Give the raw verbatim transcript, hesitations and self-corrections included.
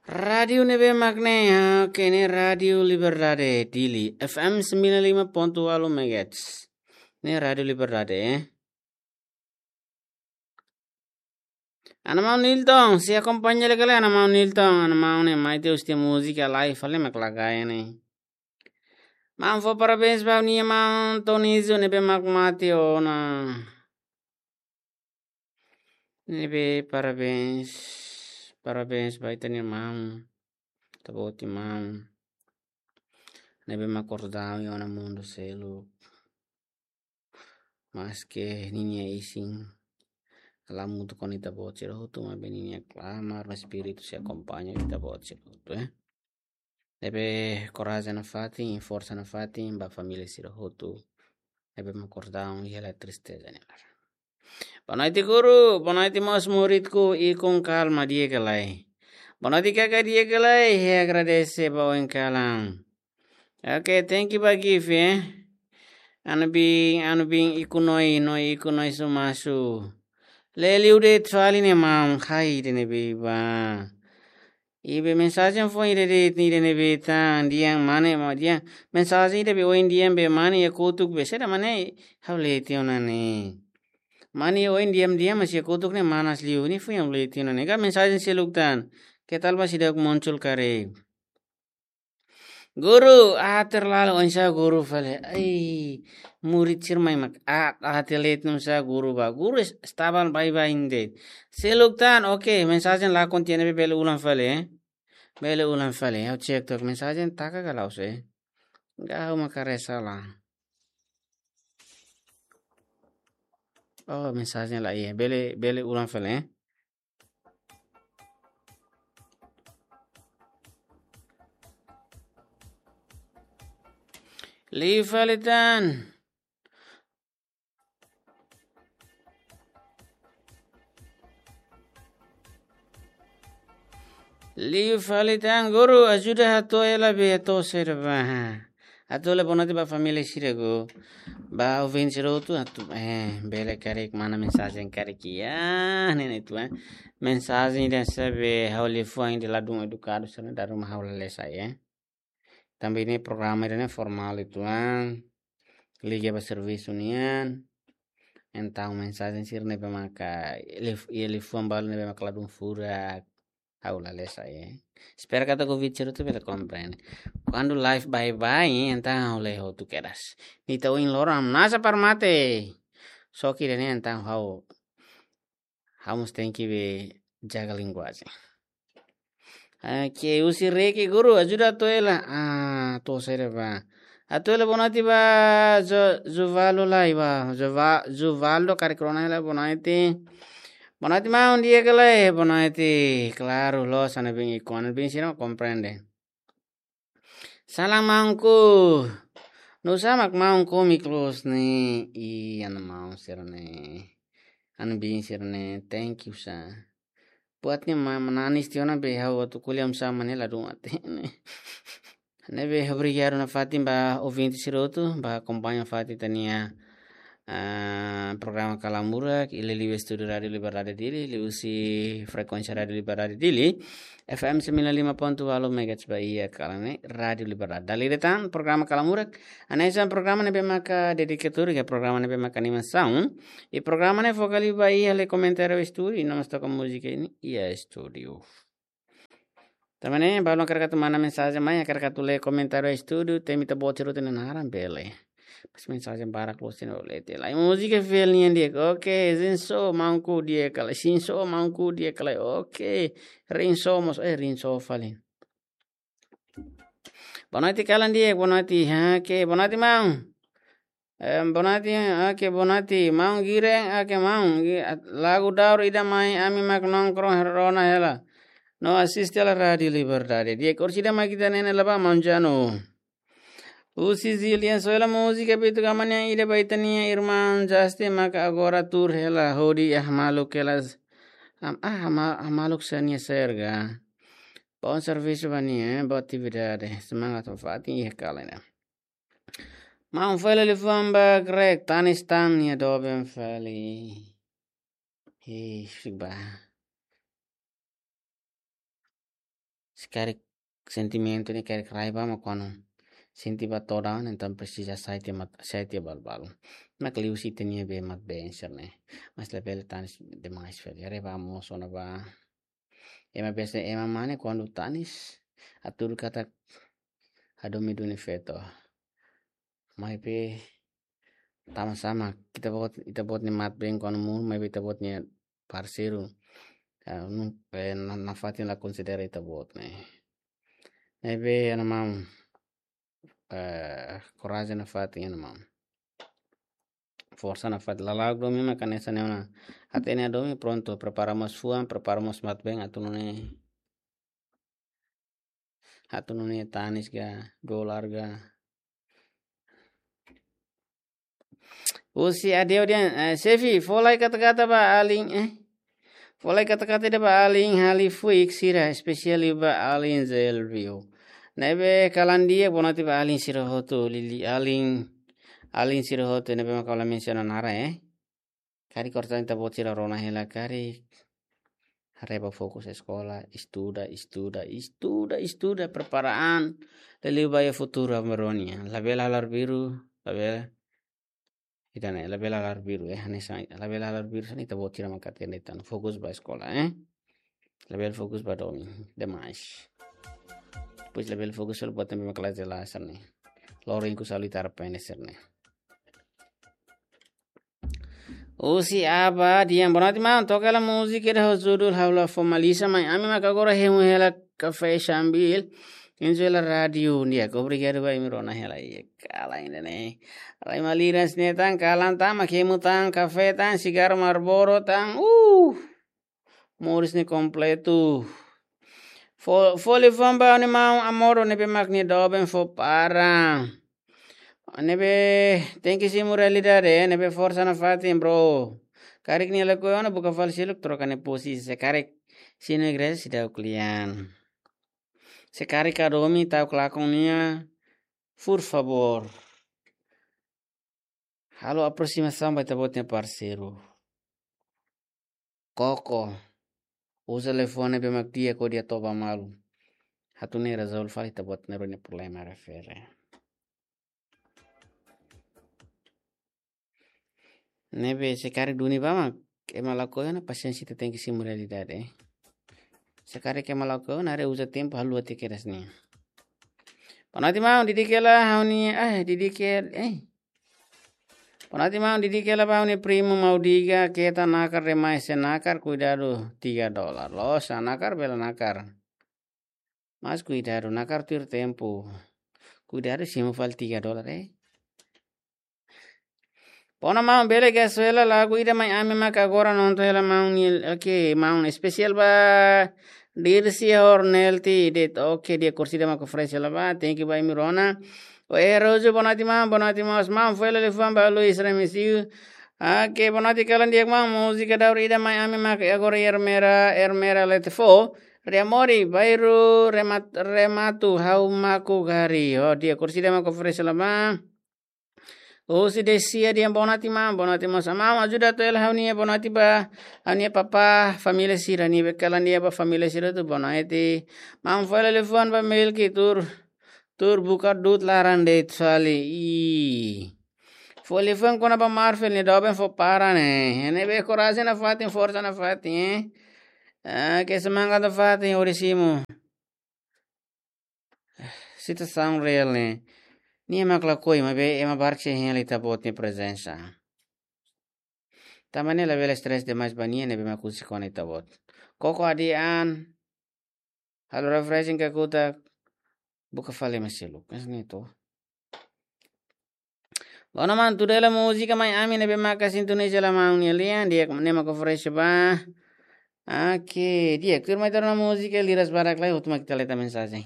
Rádiu ne'ebé mak ne'e, ah, oke, ne'e Rádiu Liberdade Dili, F M sembilan lima ponto walu megahertz. Ne'e Rádiu Liberdade, eh. Ana maun Nilton, sei akompaña lai ka lae, ana maun Nilton, ana maun ne'e mai te uste múzika lai, fali mak lagaia ne'e. Maun fó parabéns ba nia maun Tonizio ne'ebé mak mate ona. Ne'ebé parabéns, parabéns ba ita-nia maun, ita-boot nia maun. Ne'ebé mak kordau iha ona mundu seluk. Maske ninia isin la hamutuk ho ita-boot sira hotu, maibé ninia klamar no espíritu sei akompaña ita-boot sira hotu, eh. Ne'ebé korajen nafatin, forsa nafatin ba família sira hotu ne'ebé mak kordau iha laran tristeza ne'e laran. Boa noite, guru. Boa noite, mós muridku, ikun kalma di'ak ka lae. Boa noite, kaka, di'ak ka lae. Ha'u agradese ba oin kalan. Oke, thank you ba gift, eh. Anu bin, anu bin ikun Noi, Noi ikun Noi Sumasu. Leli udet fali ne'e maun, hai ida ne'ebé ba. Ibe mensajen foin ida de'it, ida ne'ebé tan, di'ak mane, ma di'ak. Mensajen ida be oin di'ak be mane iha kotuk be, saida mane, ha'u lee tiha ona ne'e. Mane oin di'ak-di'ak mas iha kotuk ne'e manas liu, ne'e foin ha'u lee tiha ona ne'e. Ka mensajen seluk tan, ke tal ba seidauk muncul karik. Guru, ah, terlalu oinsá guru fali. Ai, murid sira mai mak, ah, ah, telet num sa guru ba. Guru es-, estaban baibain de'it. Seluk tan, oke, mensajen lakon tiha ne'ebé bele ulang fali, eh. Bele ulang fali, ha'u cek tok mensajen taka ka la'ós, eh. Gau maka resa la. Oh, mensajen la, iya, bele, bele ulang fali, eh. Liu fali tan. Liu fali tan guru, ajuda hato'o hela be hato'o saida ba. Hato'o hela boa noite ba família sira guru. Ba ouvinte sira hotu, atu, eh, bele karik mana mensajen karik iha, ne'e ne'e atu, eh. Mensajen ida ne'ebé ha'u liafuan ida ladún edukadu sira-ne'e dala ruma ha'u la lee sai, eh. Tanba ne'e programa ida ne'e formál uitoan, liga ba servisu nian. Entaun mensajen sira ne'ebé maka lif-, iha liafuan balu ne'ebé maka ladún furak, ha'u la lee sai, eh. Espera katak ouvinte sira hotu bele komprende. Kuandu live baibain, entaun ha'u lee hotu kedas. Ita ohin loron hamnasa para mate. Só ke ida ne'e entaun ha'u, ha'u mós tenke be jaga linguajen. Ah, ke husi Reke guru, ajuda hato'o hela. Ah, hato'o saida ba. Hato'o hela boa noite ba Jo-, Juvaldo lai ba. Juva-, Juvaldo karik rona hela boa noite. Boa noite maun, di'ak ka lae, boa noite. Klaru, loos, anu bin ikun, anu bin sira komprende. Salam maunku. Nusá mak maun komik loos ne'e. Ih, anu maun sira-ne'e. Anu bin sira-ne'e. Thank you sa. Buat ne'e ma-, mananis tiha ona be ha'u atu ko'alia sama ne'e ladún hatene. Ne'ebé obrigadu nafatin ba ouvinte sira hotu, ba akompaña nafatin ita-nia, ah, programa Kala Murak, iha liuliu estúdiu Rádiu Liberdade Dili, liuhusi frekuénsia Rádiu Liberdade Dili, F M sembilan lima ponto walu megahertz ba iha kalan ne'e, Rádiu Liberdade. Dala ida tan, programa Kala Murak, hanesan programa ne'ebé maka dedikadu, ka programa ne'ebé maka animasaun, i programa ne'e foka liu ba iha lee komentáriu estúdiu, i no mós toka múzika iha estúdiu. Tanba ne'e, balu hakarak atu manda mensajen mai, hakarak atu lee komentáriu estúdiu, temi ita-boot sira hotu nia naran bele. Mas mensajen barak loos sira-ne'e lee tiha lai. Múzika fiel nian di'ak. Oke, Zinso maunku di'ak ka lae. Zinso maunku di'ak ka lae. Oke, Rinso mós, eh, Rinso fali. Boa noite, kalan di'ak, boa noite. Oke, boa noite, maun. Em, boa noite, oke, boa noite. Maun Giren, oke, maun. Gi-, at-, lagu daur ida mai, ami mak nongkrong rona hela. No asiste hela Rádiu Liberdade. Di'ak, orsida mai ita-nia ne'e la ba, maun Jano. Husi Zilian, soe hela múzika Beto Gama nian ida ba ita-nia irmaun Justin maka agora tuur hela hodi ah maluk hela s-, am-, ah, ma-, ah, maluk sira-nia serga. Bom servisu ba nia, eh, boa atividade. Semangat ba fatin iha kalan ne'e. Maun fali liafuan ba Greg, tanis tan nia doben fali. Ih, ba. Se karik sentimentu ne'e karik rai ba mak kuandu sente ba todan, entaun presiza sai tiha mat-, sai tiha balu-balu. Mak liu sente nia be mat be answer ne'e. Mas labele tanis demais fali. Haree ba mosu ona ba. Ema biasa ema mane kuandu tanis, hatudu katak hadomi duni feto. Maibé tama sama, ita-boot, ita-boot nia mat been kuandu monu, maibé ita-boot nia parseiru, ah, nu, eh, na-, nafatin la konsidera ita-boot ne'e. Maibé, iha ne'e maun, eh, korajen nafatin iha ne'e maun. Forsa nafatin, lala'ok domin mak hanesan ne'e ona. Hatene hadomi prontu, prepara mós fuan, prepara mós mat been, atu nune'e, atu nune'e tanis ka, dolar ka. Husi Adeo dehan, eh, xefe, fó lai kata-kata ba alin, eh. Fó lai kata-kata ida ba alin hali fuik sira, espesiál ba alin Zelvio. Ne'ebé kalan di'ak, bonatin ba alin sira hotu, lili alin, alin sira hotu, ne'ebé mak ha'u la mensiona naran, eh. Karik kortan ita-boot sira rona hela karik. Haree ba fokus eskola, estuda, estuda, estuda, estuda, prepara an. Liuliu ba iha futuru aban-bainrua nian. Labele halo arbiru, labele. Ita ne'e, labele halo arbiru, eh, hanesan, labele halo arbiru, hanesan ita-boot sira mak hatene tan. Fokus ba eskola, eh. Labele fokus ba domin demais. Depois labele fokus halo buat ne'ebé mak la jelas ne'e. Loron ikus halo ita arrepende sira-ne'e. Husi Aba dehan, bonatin maun, toka hela múzika ida ho judul Ha'u La Formaliza, mai ami mak agora hemu hela kafé sambil enjoy hela rádiu. Di'ak, obrigadu ba imi rona hela, iha kalan ida-ne'e. Rai maliras ne'e tan, kalan tan, mak hemu tan, kafé tan, sigarru Marlboro tan. Uh! Moris ne'e kompletu. Fó, fó liafuan ba ha'u-nia maun Amoro ne'ebé mak nia doben fó paran. Ne'ebé tenke simu realidade, eh, ne'ebé forsa nafatin, bro. Karik nia lakohi ona, buka fali seluk, troka nia posisi. Se karik simu igreja, seidauk kle'an. Se karik hadomi ta'uk lakon nia, por favor. Halo aproximasaun ba ita-boot nia parseiru. Koko. Uza telefone ne'ebé mak di'ak hodi hato'o ba malu. Atu nune'e rezolve fali ita-boot nia problema refere. Ne'ebé se karik duni ba mak ema lakohi ona, pasiénsia, ita tenke simu realidade, eh. Se karik ema lakohi ona, haree, uza tempu, haluha tiha kedas nian. Bonatin maun, didik hela ha'u-nia, eh, didik hela, eh. Bonatin maun, didik hela ba ha'u-nia primu Maudiga, keta nakar demais, se nakar kuidadu tiga dolar. Loos, nakar bele nakar. Mas kuidadu, nakar tuir tempu. Kuidadu simu fali tiga dolar, eh. Pona maun, bele gesu hela lagu ida mai ami mak agora nonton hela maun nian, oke, maun, espesiál ba Dirsi Hornelti, det, oke, di'ak, orsida mak oferese hela ba, thank you ba imi rona. O Erozu, bonatin maun, bonatin maun, maun, fó hela liafuan ba Luis Remesio. Oke, bonatin kalan di'ak maun, múzika daur ida mai ami mak agora Ermera, Ermera Letefo. Riamori, Bairu, Remat-, Rematu, Hau Maku Gari. Oh, di'ak, orsida mak oferese hela ba. Husi Desia dehan bonatin maun, bonatin maun, maun ajuda hato'o hela ha'u-nia bonatin ba, ha'u-nia papá, família sira, ne'ebé kalan di'ak ba família sira hotu, bonatin. Maun, fó hela liafuan ba Melki tuur, tuur buka du'ut laran de'it fali. Ih. Fó liafuan kona-ba Marvel, nia doben fó paran ne'e. Ne'ebé korajen nafatin, forsa nafatin, eh. Ah, ke semangat nafatin, hodi simu. Situasaun reál ne'e. Nia mak lakohi, maibé ema barak sei hein hela ita-boot nia prezensa. Tanba ne'e labele stress demais ba nia, ne'ebé mak husik ona ita-boot. Koko hadi'a an, halo refreshing kakutak, buka fali ema seluk. Mas ne'e to. Bona maun, tuda hela múzika mai ami ne'ebé maka sintoniza hela maun nia lian, di'ak, ne'e mak oferese ba. Oke, di'ak, tuirmai ita rona múzika, liras badak lai, hotu mak ita leta mensajen.